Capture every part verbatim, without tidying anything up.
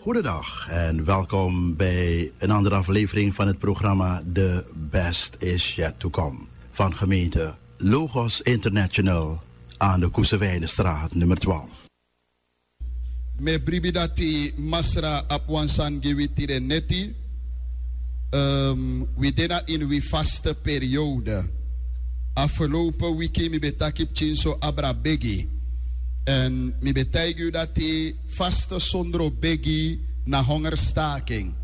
Goedendag en welkom bij een andere aflevering van het programma The Best Is Yet To Come van gemeente Logos International aan de Koesewijnenstraat nummer twaalf. Mi e bribi dati Masra abi wan sani gi wi tide neti. Ehm, wi de na ini wi faste periode. Afgelopen wiki mi ben taki pikinso abra begi. Èn mi ben taigi yu dati faste sondro begi na hongerstaking.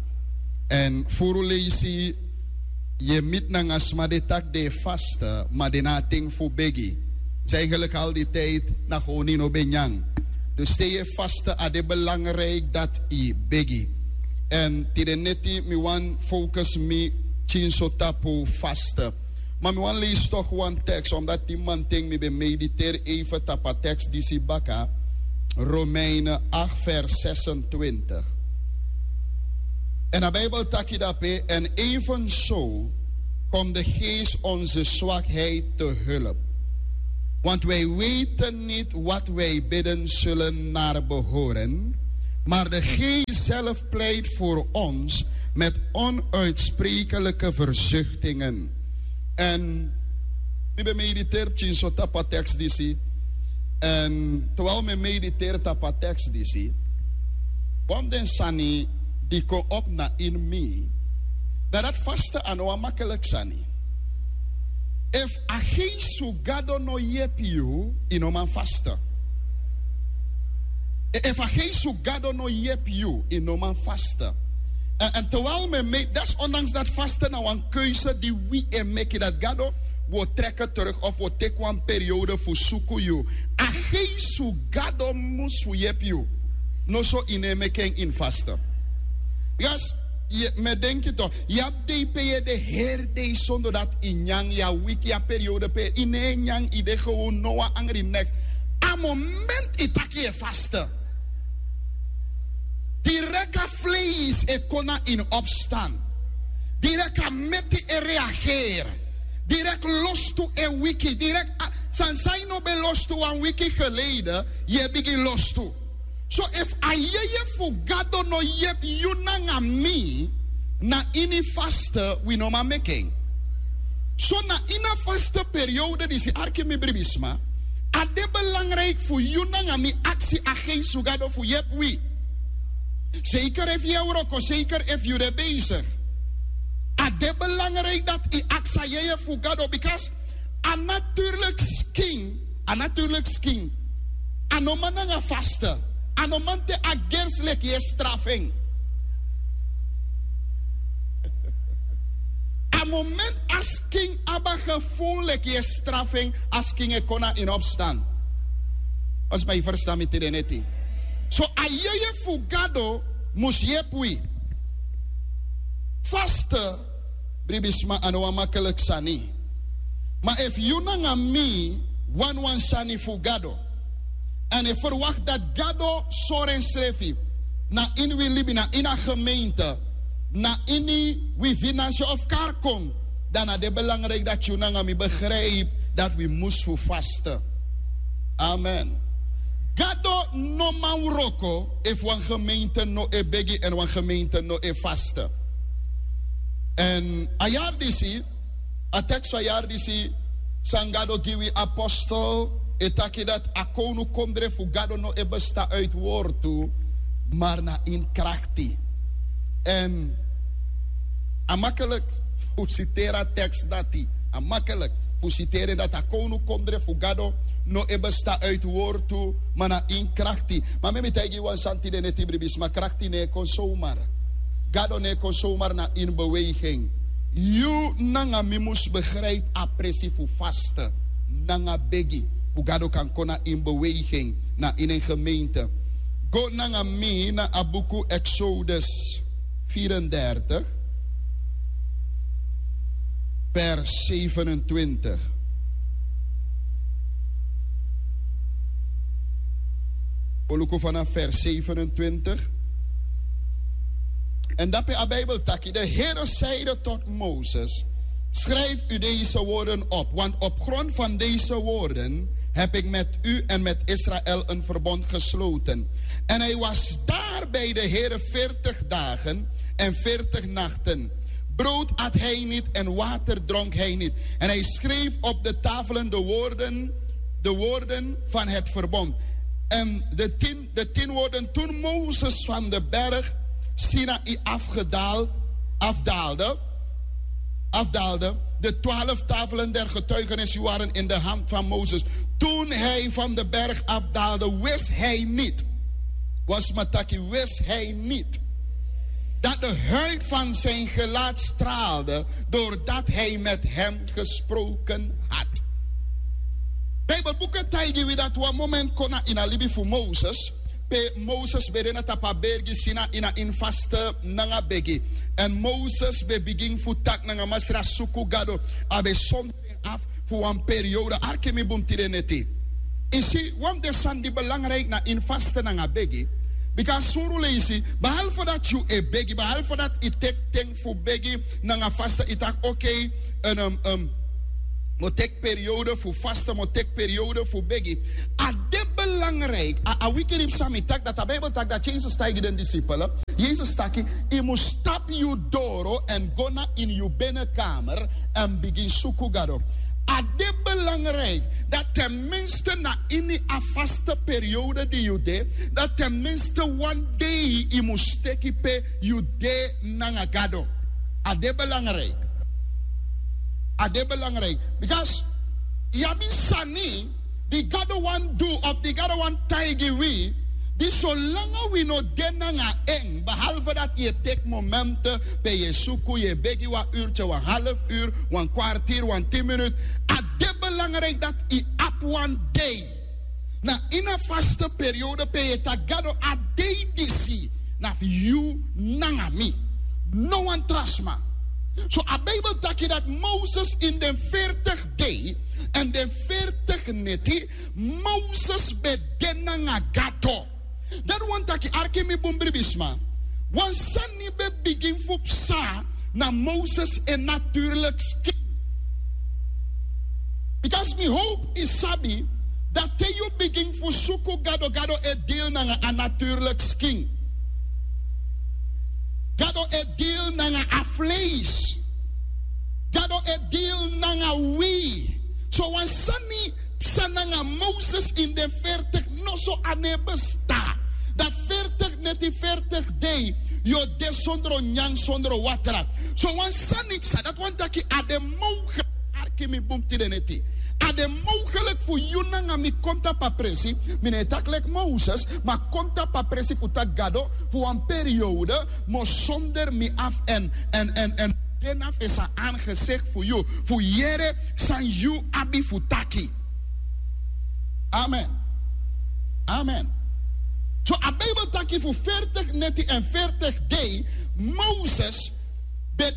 Èn furu leisi yu e miti nanga sma di e taki den e faste, ma den no abi ten fu begi. Dus eigenlijk al die tijd na gewoon yu no ben nyan. Dus te yu e faste, a de belangrijk dati yu begi. Èn tide neti mi wani focus mi pikinso tapu faste. Ma mi wani leisi toch wan tekst, omdat di mamanten mi ben mediteri even tapu a tekst disi baka. Romeinen acht vers zesentwintig. Èn a Bijbel taki dape: en evenzo komt de Geest onze zwakheid te hulp. Want wij weten niet wat wij bidden zullen naar behoren, maar de Geest zelf pleit voor ons met onuitsprekelijke verzuchtingen. Èn mi ben mediteri pikinso tapu a tekst disi. Èn terwijl mi e mediteri tapu a tekst disi, wan fu den sani di kon opo na ini mi, na dati faste a no wan makkelijk sani. Efu a Geest fu Gado no yepi yu, yu no man faste. E- efu a Geest fu Gado no yepi yu, yu no man faste. Èn, èn terwijl mi e me-, desondanks dati faste na wan keuze di wi e meki, dati Gado, wi o trek terug of wi o teki wan periode fu suku yu. A Geest fu Gado mus fu yepi yu. Noso yu no e meki en ini faste. Because yu, mi e denki toch, yu abi dei pe yu e de heri dei sondro dati yu nyan, yu a wiki, yu a periode pe yu no e nyan, yu de gewoon, no wan angri, niks. A moment yu taki yu e faste, direct a vlees e kon na ini opstand. Direct a meti e reageri. Direct lostu e wiki. Direct a, sani san yu no ben lostu wan wiki geleden, yu e bigin lostu. So efu a yeye fu Gado no yepi yu nanga mi, na ini faste wi no man meki en. So na ini a faste periode disi, arki mi bribisma, a de belangrijk fu yu nanga mi aksi a Geest fu Gado fu yepi wi. Zeker efu yu e wroko, zeker efu yu de bezig. A de belangrijk dati yu aksi a yeye fu Gado, because a natuurlijke skin, a natuurlijke skin, a no man nanga faste. A no man te a gersi leki yu e strafu en. A moment a skin abi a gevoel leki yu e strafu en, a skin e kon na ini opstand. Als mi e ferstan mi tide neti. So a yeye fu Gado mus yepi wi. Faste, bribisma, a no wan makkelijk sani. Ma efu yu nanga mi wani wan sani fu Gado, èn e ferwakti dati Gado sori ensrefi na ini wi libi, na ini a gemeente, na ini wi finansi of kari kon, dan a de belangrijk dati yu nanga mi begrijpi dati wi mus fu faste. Amen. Gado no man wroko efu wan gemeente no e begi èn wan gemeente no e faste. Èn a yari disi, a tekst fu a yari disi san Gado gi wi, apostel e taki dati a kownukondre fu Gado no e bestan uit wortu, maar na ini krakti. Èn a makkelijk fu siteri a tekst dati. A makkelijk fu siteri en dati a kownukondre fu Gado no e bestan uit wortu, ma na ini krakti. Ma mi e taigi yu wan sani tide neti, bribisma, krakti no e kon zomaar. Gado no e kon zomaar na ini beweging. Yu nanga mi mus begrijpi a presi fu faste nanga begi, fu Gado kan kon na ini beweging, na ini en gemeente. Go nanga mi na a buku Exodus vierendertig, vers zevenentwintig. Wi o luku vanaf vers zevenentwintig. En dape a Bijbel taki: De Heere zeide tot Mozes: Schrijf u deze woorden op, want op grond van deze woorden heb ik met u en met Israël een verbond gesloten. En hij was daar bij de Here veertig dagen en veertig nachten. Brood at hij niet en water dronk hij niet. En hij schreef op de tafelen de woorden, de woorden van het verbond. En de tien, de tien woorden: Toen Mozes van de berg Sinaï afgedaald, afdaalde, afdaalde. De twaalf tafelen der getuigenis waren in de hand van Mozes. Toen hij van de berg afdaalde, wist hij niet. Was mataki, wist hij niet dat de huid van zijn gelaat straalde doordat hij met hem gesproken had. Bijbelboeken taigi wi dat wan moment kon na ini a libi fu Moses. Pe Moses ben de na tapu a bergi Sinaï na ini faste nanga begi. En Moses ben bigin fu taki nanga Masra, suku Gado. A ben sondro en af fu wan periode. Arki mi bun tide neti. I si, wan fu den sani di belangrijk na ini faste nanga begi. Bika a suru leisi, behalve dat yu e begi, behalve dat i teki ten fu begi nanga faste, i taki oké, en, um, um, mi o teki periode fu faste, mi o teki periode fu begi. A de belangrijk, a, a wiki di psa mi taki dati, a Bijbel taki dati, Jezus taigi den disipel. Jezus taki, i mus tapu yu doro en go na ini yu binnenkamer en bigin suku Gado. A de belangrijk dat ten minste na ini a faste periode di yu de, dat ten minste wan dei i mus teki pe yu de nanga Gado. A de belangrijk. A de belangrijk. Because yu abi sani di Gado wani du of di Gado wani taigi wi, di solanga wi no de nanga en, behalve dat yu e teki momenten pe yu e suku, yu e begi wan uurtje, wan half uur, wan kwartier, wan tien minuten. A de belangrijk dat yu abi wan dei na ini a faste periode pe yu e taki Gado, a dei disi na fu yu nanga mi. No wan tra sma. So a Bijbel taki dat Moses in den veertig dei en den veertig neti, Moses ben de nanga Gado. Dati wani taki, arki mi bun, bribi sma. Wan sani ben bigin fu psa na Moses en natuurlijke skin. Because mi howpu i sabi dat te yu bigin fu suku Gado, Gado e deal nanga a natuurlijke skin. Gado e deal nanga a vlees. Gado e deal nanga wi. So wan sani psa nanga Moses in den veertig, noso a no e bestaan. Dati veertig neti, veertig dei yu o de sondro nyan, sondro watra. So wan sani psa, dati wani taki a de mogelijk, arki mi bun tide neti. A de mogelijk fu yu nanga mi kon tapu a presi, mi no e taki leki Moses, ma kon tapu a presi fu taki Gado, fu wan periode, mi o sonder mi afu en, en, en, en de na fesi a aangesicht fu yu, fu yere san yu abi fu taki. Amen. Amen. So a Bijbel taki fu veertig neti en veertig dei, Moses ben de